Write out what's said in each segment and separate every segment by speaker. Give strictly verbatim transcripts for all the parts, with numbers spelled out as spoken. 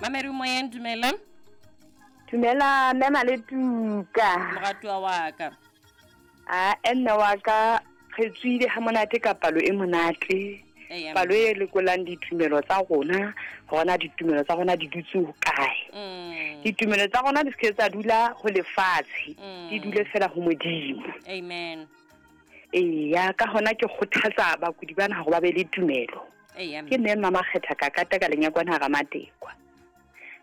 Speaker 1: Mamedi moyeng, dumela.
Speaker 2: Dumela mme Maletuka.
Speaker 1: Moratuwa wa ka.
Speaker 2: A mme wa ka re tswile ha monate ka palo e monate. Palo e lekolang ditumelo tsa rona, hore na ditumelo tsa rona di dutse ho kae.
Speaker 1: Mm.
Speaker 2: Ditumelo tsa rona di se tsa dula ho lefatshe,
Speaker 1: Mm.
Speaker 2: di dule fela ho Modimo.
Speaker 1: Amen.
Speaker 2: Eya, ka hona ke kgothatsa bakudi bana hore ba be le tumelo.
Speaker 1: Eya.
Speaker 2: Ke mme Mma Makgetha ka kata ka lenyakwana hara Matekwa.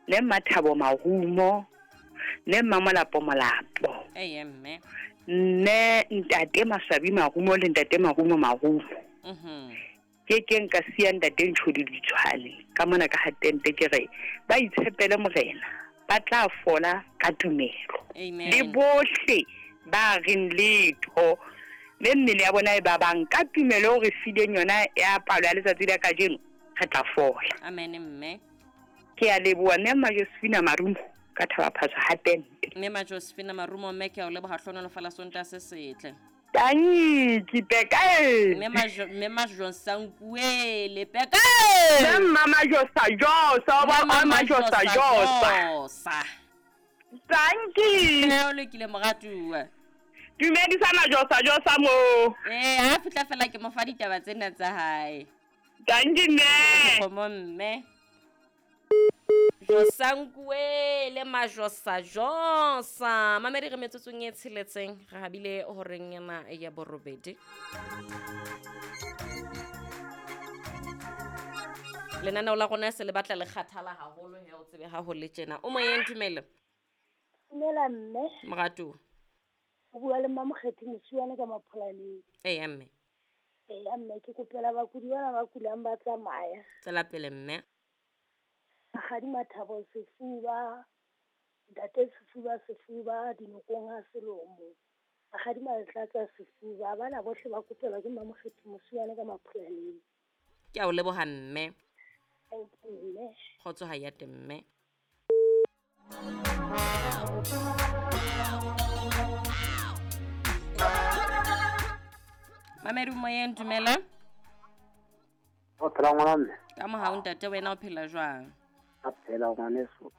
Speaker 2: Le Mma Thabo Marumo, le Mma Molapo Molapo.
Speaker 1: Eya mme.
Speaker 2: Mme Ntate Maswabi Marumo le Ntate Marumo Marumo.
Speaker 1: Mhm.
Speaker 2: Ke ke nka siya Ntate Ntshodi Ditshwane ka mona ka hatente ke re ba itshepele Morena, ba tla fola ka tumelo.
Speaker 1: Amen.
Speaker 2: Le bohle ba reng letho le mmele ya bona e ba bang ka tumelo o re fileng yona ya palo ya letsatsi la kajeno, re tla fola.
Speaker 1: Amen mme.
Speaker 2: Ke a leboha mme Mma Josephine Marumo ka Thaba Phatswa hatente.
Speaker 1: Mme Mma Josephine Marumo mme ke a o leboha, hlohonolofala Sontaha se setle.
Speaker 2: Tanki peka e.
Speaker 1: Mme Majo, mme Majo Sankuele peka.
Speaker 2: Mme Mma Majosa Josa, ba
Speaker 1: Mme
Speaker 2: Mma Majosa Josa.
Speaker 1: Josa.
Speaker 2: Tanki.
Speaker 1: Mme o lokile moratuwa.
Speaker 2: Dumedisa Majosa Josa mo.
Speaker 1: Eh, ha fihla fela ke mo fa ditaba tsena tsa hae.
Speaker 2: Tanki mme.
Speaker 1: Kgomo mme. Josankuele Majosa Josa. Mamedi re metsotsong e tsheletseng re habile horeng ena ya borobedi. Lenaneo la rona se le batla le kgathala haholo he o tsebe ha ho le tjena. O moyeng, dumela.
Speaker 3: Dumela mme.
Speaker 1: Moratuwa.
Speaker 3: O bua le Mma Mokgethi Mosuwane ka Mapholaneng.
Speaker 1: Eya mme.
Speaker 3: Eya mme, ke kopela bakudi bana ba kulang ba tsamaya.
Speaker 1: Tswela pele mme.
Speaker 3: Rakgadi Mathabo Sefuba, Ntate Sefuba Sefuba, Dinokong ha Selomo. Rakgadi Maletlatsa Sefuba, bana bohle ba kopelwa ke Mma Mokgethi Mosuwane ka Mapholaneng.
Speaker 1: Ke a o leboha mme.
Speaker 3: Thank you mme.
Speaker 1: Kgotso ha ya teng mme. Mamedi moyeng, dumela.
Speaker 4: O phela ngwana mme.
Speaker 1: Ka mohau ntate, wena o phela jwang?
Speaker 4: A phela ngwaneso.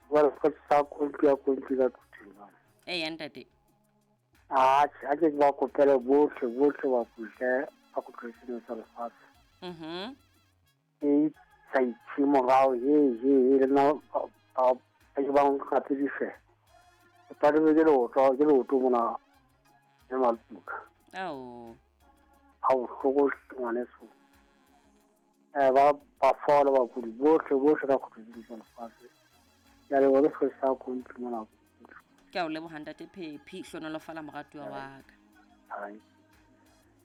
Speaker 4: Jwale se sa kontli ya kontli ka thuthula.
Speaker 1: Eya ntate.
Speaker 4: Atjhe, a ke ba kopele bohle, bohle ba kutle, ba kutlwe tsa lefatshe.
Speaker 1: Mhm.
Speaker 4: E sa itse morao, he he he le nna ba ba ke ba nkgapedise. Ke tadime ke leoto, ke leoto mona le Maletuka.
Speaker 1: Ao.
Speaker 4: Ha bohloko ngwaneso. Eh, ba ba fola bakudi bohle, bohle ka kutlwe tsa lefatshe. Ke a leboha le se sa kontli mona.
Speaker 1: Ke a o leboha ntate Phephi, hlohonolofala moratuwa wa ka.
Speaker 4: Hai.